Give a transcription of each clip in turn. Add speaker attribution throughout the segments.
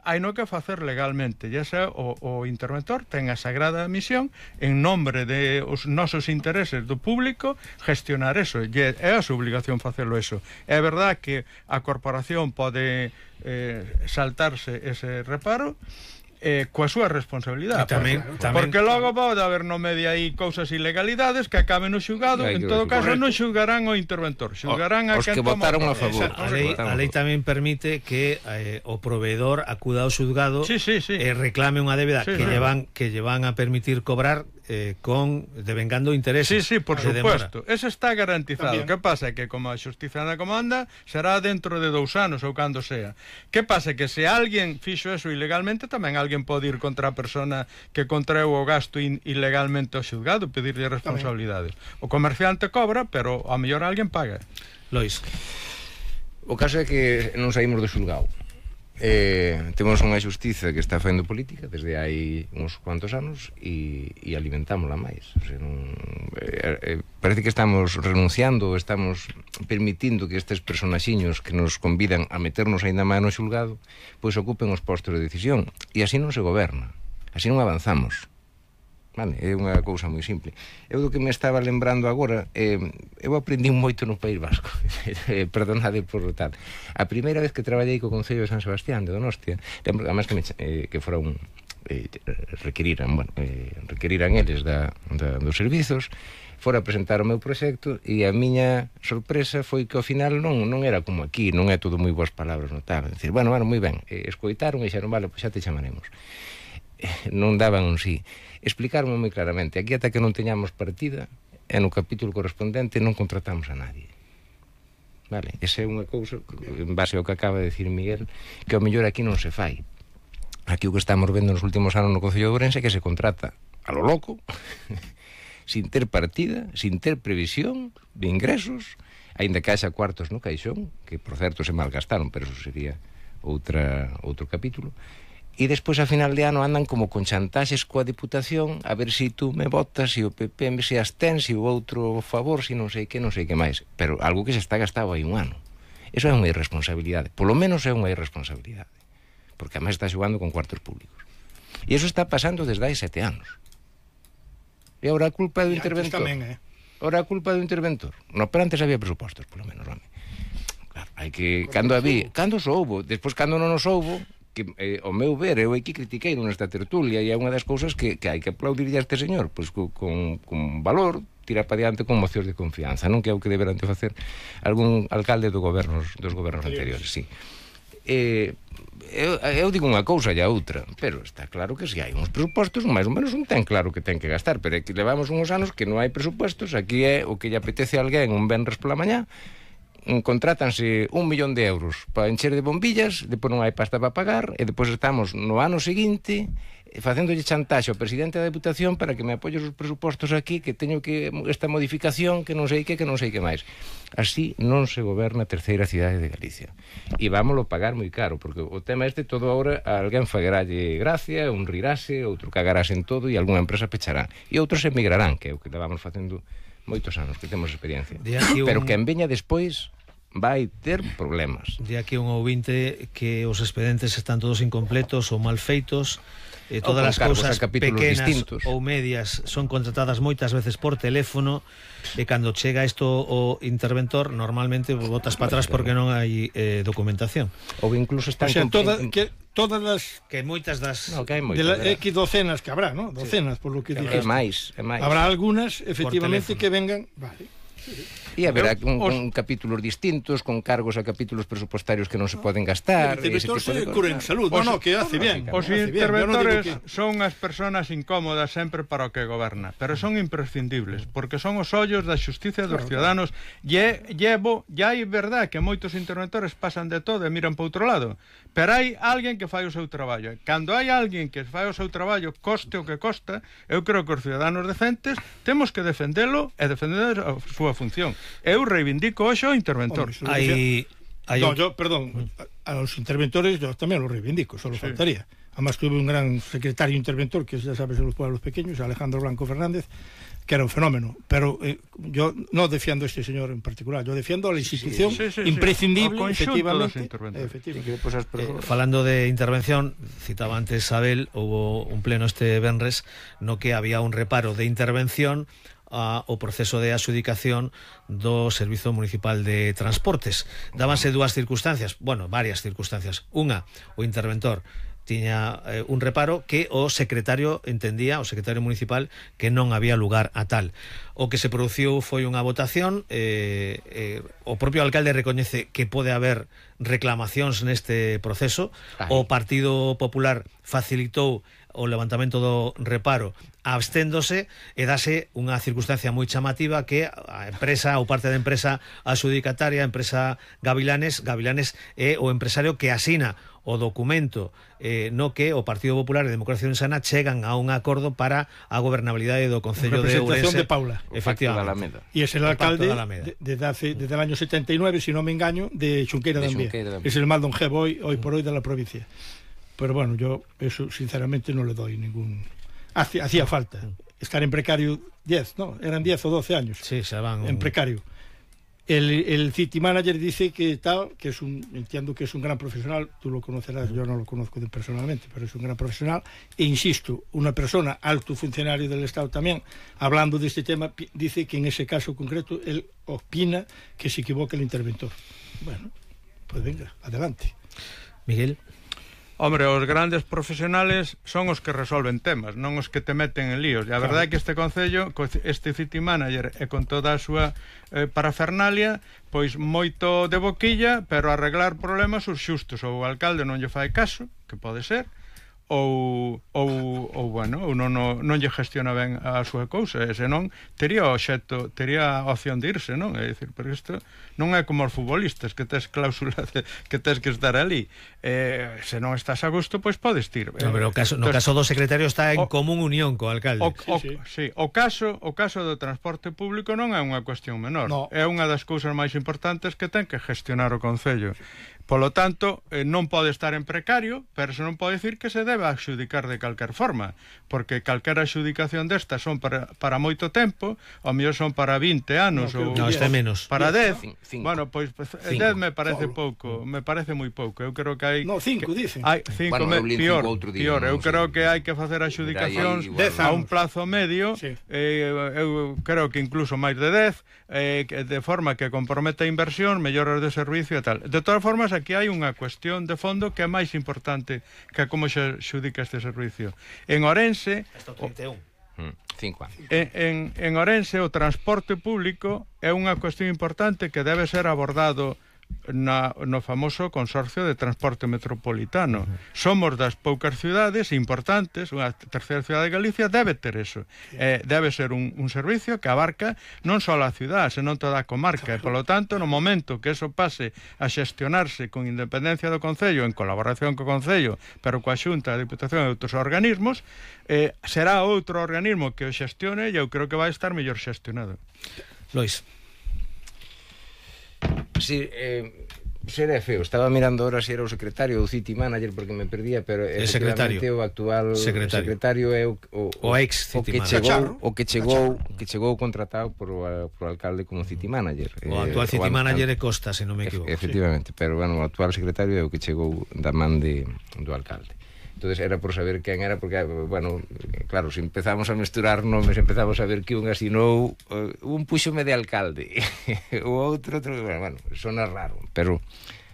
Speaker 1: hai no que facer legalmente, e ese o interventor ten a sagrada misión en nombre de os nosos intereses do público gestionar eso, e é a súa obligación facelo eso. É verdad que a corporación pode saltarse ese reparo coa súa responsabilidade, porque logo pode haber no medio aí cousas ilegalidades que acaben no xulgado. En todo caso non xulgarán o interventor, xulgarán a quen
Speaker 2: votaron a favor.
Speaker 3: A lei tamén permite que o proveedor acuda ao xulgado e reclame unha débeda que lle van a permitir cobrar devengando intereses.
Speaker 1: Sí, por supuesto, eso está garantizado. Que pasa que como a xustiza anda como anda, será dentro de 2 anos ou cando sea. Que pasa que se alguén fixo eso ilegalmente, tamén alguén pode ir contra a persona que contraeu o gasto ilegalmente ao xulgado, pedirlle responsabilidades. O comerciante cobra, pero a mellor alguén paga.
Speaker 3: Lois.
Speaker 2: O caso é que non saímos do xulgado. Temos unha xustiza que está facendo política desde hai uns cuantos anos e alimentámola máis. O sea, parece que estamos renunciando, estamos permitindo que estes personaxiños que nos convidan a meternos aínda máis no xulgado pois ocupen os postos de decisión, e así non se goberna, así non avanzamos. Vale, é unha cousa moi simple. Eu do que me estaba lembrando agora, eu aprendi moito no País Vasco. Perdonade por tal. A primeira vez que traballei co Concello de San Sebastián de Donostia, además que fora requeriran eles dos servizos, fora a presentar o meu proxecto, e a miña sorpresa foi que ao final non era como aquí, non é todo moi boas palabras no tal. Dicir, bueno, moi ben, escoitaron e dixeron, vale, pois xa te chamaremos. Non daban un sí. Explicaronme moi claramente, aquí ata que non teñamos partida, e no capítulo correspondente non contratamos a nadie. Vale, esa é unha cousa, en base ao que acaba de decir Miguel, que ao mellor aquí non se fai. Aquí o que estamos vendo nos últimos anos no Concello de Ourense é que se contrata a lo loco, sin ter partida, sin ter previsión de ingresos, aínda que haxa cuartos no caixón, que por certo se malgastaron, pero eso sería outro capítulo. E despois a final de ano andan como con chantaxes coa Diputación a ver se tú me votas, se o PP se abstén, se o outro favor, se non sei que máis, pero algo que se está gastado aí un ano. Eso é unha irresponsabilidade, polo menos é unha irresponsabilidade, porque además está xogando con cuartos públicos, e eso está pasando desde hai 7 anos. E agora a culpa do interventor. Agora a culpa do interventor. No, pero antes había presupostos, polo menos, home. Claro, hai que cando soubo, despois cando non nos soubo, que ao meu ver, eu aquí critiquei nesta tertulia, e é unha das cousas que hai que aplaudirlle a este señor, pois con valor, tira para diante con mocións de confianza, non que é o que deberán de facer algún alcalde dos gobernos anteriores, sí. Eu digo unha cousa e a outra, pero está claro que se hai uns presupostos, máis ou menos un ten claro que ten que gastar, pero é que levamos uns anos que non hai presupostos. Aquí é o que lle apetece a alguén un venres pola mañá, contrátanse 1 millón de euros para encher de bombillas, depois non hai pasta para pagar, e depois estamos no ano seguinte facéndolle chantaxe ao presidente da Deputación para que me apoie os presupostos aquí, que teño que esta modificación, que non sei que máis. Así non se goberna a terceira cidade de Galicia, e vámoslo pagar moi caro, porque o tema todo agora a alguén fagaralle gracia, un rirase, outro cagarase en todo, e algunha empresa pechará, e outros emigrarán, que é o que vamos facendo moitos anos, que temos experiencia. Pero que en veña despois vai ter problemas.
Speaker 3: De aquí un ouvinte que os expedientes están todos incompletos ou mal feitos, todas as cousas pequenas distintos ou medias son contratadas moitas veces por teléfono, e cando chega isto o interventor normalmente botas para atrás porque non hai documentación.
Speaker 2: Ou incluso están
Speaker 4: todas as
Speaker 3: que moitas das
Speaker 4: X docenas que habrá, ¿no? Docenas, por lo que
Speaker 2: É
Speaker 4: dijiste.
Speaker 2: máis.
Speaker 4: Habrá algunhas, efectivamente, que vengan, vale.
Speaker 2: E haberá con capítulos distintos, con cargos a capítulos presupuestarios que non se poden gastar.
Speaker 4: El interventor se cura en salud, que hace bien.
Speaker 1: Os interventores son as persoas incómodas sempre para o que goberna, pero son imprescindibles, porque son os ollos da xustiza dos ciudadanos. E hai verdad que moitos interventores pasan de todo e miran para outro lado, pero hai alguén que fai o seu traballo. Cando hai alguén que fai o seu traballo, coste o que costa, eu creo que os ciudadanos decentes temos que defendelo e defender a súa función. Eu reivindico hoxe o interventor.
Speaker 3: Hai
Speaker 4: Perdón, a los interventores yo también los reivindico, solo faltaría. Además tuve un gran secretario interventor, que ya sabes, de los pueblos pequeños, Alejandro Blanco Fernández, que era un fenómeno, pero yo no defiendo a este señor en particular, yo defiendo a la institución imprescindible, efectivamente.
Speaker 3: Falando de intervención, citaba antes Abel, hubo un pleno este venres no que había un reparo de intervención ao proceso de adxudicación do Servizo Municipal de Transportes. Dábanse dúas circunstancias, varias circunstancias. Unha, o interventor tiña un reparo que o secretario entendía, o secretario municipal, que non había lugar a tal. O que se produciu foi unha votación, o propio alcalde recoñece que pode haber reclamacións neste proceso, o Partido Popular facilitou o levantamento do reparo absténdose e dase unha circunstancia moi chamativa que a empresa ou parte da empresa adxudicataria, a empresa Gavilanes é o empresario que asina o documento no que o Partido Popular e Democracia Insana chegan a un acordo para a gobernabilidade do Concello de Ourense.
Speaker 4: Representación de Paula.
Speaker 3: Efectivamente.
Speaker 4: Y es el alcalde desde el año 79, si no me engaño, de Xunqueira de Ambía. Es el más longevo hoy por hoy de la provincia. Pero bueno, yo eso sinceramente no le doy ningún... Hacía falta estar en precario 10, ¿no? Eran 10 o 12 años.
Speaker 3: Sí, se van
Speaker 4: en precario. El city manager dice que entiendo que es un gran profesional, tú lo conocerás, yo no lo conozco personalmente, pero es un gran profesional, e insisto, una persona, alto funcionario del Estado también, hablando de este tema, dice que en ese caso concreto él opina que se equivoca el interventor. Bueno, pues venga, adelante.
Speaker 3: Miguel.
Speaker 1: Hombre, os grandes profesionales son os que resolven temas, non os que te meten en líos. E a verdade é que este concello, este city manager e con toda a súa parafernalia, pois moito de boquilla, pero arreglar problemas os xustos. Ou o alcalde non lle fai caso, que pode ser, ou non lle gestiona ben a súa cousa, e senón tería opción de irse, non? É dicir, pero isto non é como os futbolistas que tes cláusula que tes que estar ali, se non estás a gusto, pois podes ir.
Speaker 3: Pero no caso do secretario está en común unión co alcalde.
Speaker 1: O caso do transporte público non é unha cuestión menor, é unha das cousas máis importantes que ten que gestionar o concello. Polo tanto, non pode estar en precario, pero se non pode dicir que se debe adxudicar de calquer forma, porque calquera adxudicación destas son para moito tempo, ou mellor son para 20 anos, ou
Speaker 3: este menos.
Speaker 1: Para 10. Bueno, pois 10 me parece pouco, me parece moi pouco. Eu creo que hai
Speaker 4: 5 dicen.
Speaker 1: Hai 5 pior. Eu creo que hai que facer adxudicacións a un plazo medio, eu creo que incluso máis de 10, de forma que comprometa a inversión, melloras de servicio e tal. De todas formas, aquí hai unha cuestión de fondo que é máis importante que como se xudica este servicio. En Ourense,
Speaker 3: hasta 31.
Speaker 2: 5 anos.
Speaker 1: En Ourense o transporte público é unha cuestión importante que debe ser abordado no famoso Consorcio de Transporte Metropolitano. Somos das poucas ciudades importantes, unha terceira cidade de Galicia debe ter eso. Debe ser un servicio que abarca non só a cidade, senón toda a comarca, e polo tanto, no momento que eso pase a xestionarse con independencia do Concello, en colaboración co Concello, pero coa Xunta, a Diputación e outros organismos, será outro organismo que o xestione e eu creo que vai estar mellor xestionado.
Speaker 3: Lois.
Speaker 2: Sí, será feo. Estaba mirando ahora se era o secretario ou city manager porque me perdía, pero efectivamente o actual secretario é
Speaker 3: o ex city manager.
Speaker 2: O que chegou contratado por o alcalde como city manager.
Speaker 3: O actual city manager é Costa, se non me equivoco.
Speaker 2: Efectivamente, pero bueno, o actual secretario é o que chegou da man do alcalde. Entonces era por saber quen era, porque, bueno, claro, se empezamos a mesturar nomes, empezamos a ver que un asinou, un puxome de alcalde, o outro, bueno, sona raro, pero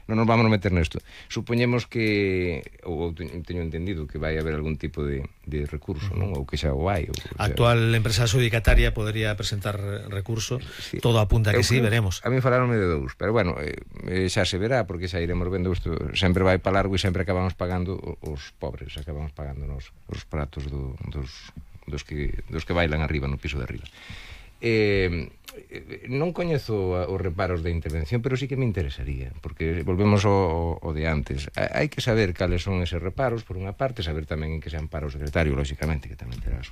Speaker 2: non nos vamos a meter nesto. Supoñemos que, ou teño entendido que vai haber algún tipo de recurso, non? Ou que xa o hai.
Speaker 3: A actual empresa adxudicataria podría presentar recurso, sí. Todo apunta que sí, veremos.
Speaker 2: A mí falaronme de 2, pero bueno, xa se verá, porque xa iremos vendo isto, sempre vai para largo e sempre acabamos pagando os pobres, acabamos pagando os pratos dos que bailan arriba, no piso de arriba. Non coñezo os reparos de intervención, pero sí que me interesaría, porque volvemos ao de antes. Hai que saber cales son eses reparos, por unha parte, saber tamén en que se ampara o secretario, lógicamente, que tamén terá os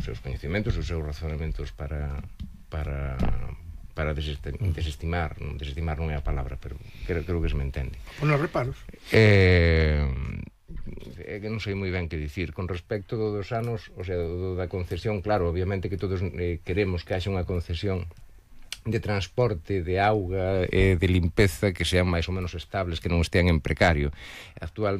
Speaker 2: seus coñecementos, os seus razonamentos para para desestimar non é a palabra, pero creo que se me entende.
Speaker 4: Ponos reparos.
Speaker 2: É que non sei moi ben que dicir con respecto dos anos, o sea, da concesión. Claro, obviamente que todos queremos que haxa unha concesión de transporte, de auga, de limpeza, que sean máis ou menos estables, que non estean en precario.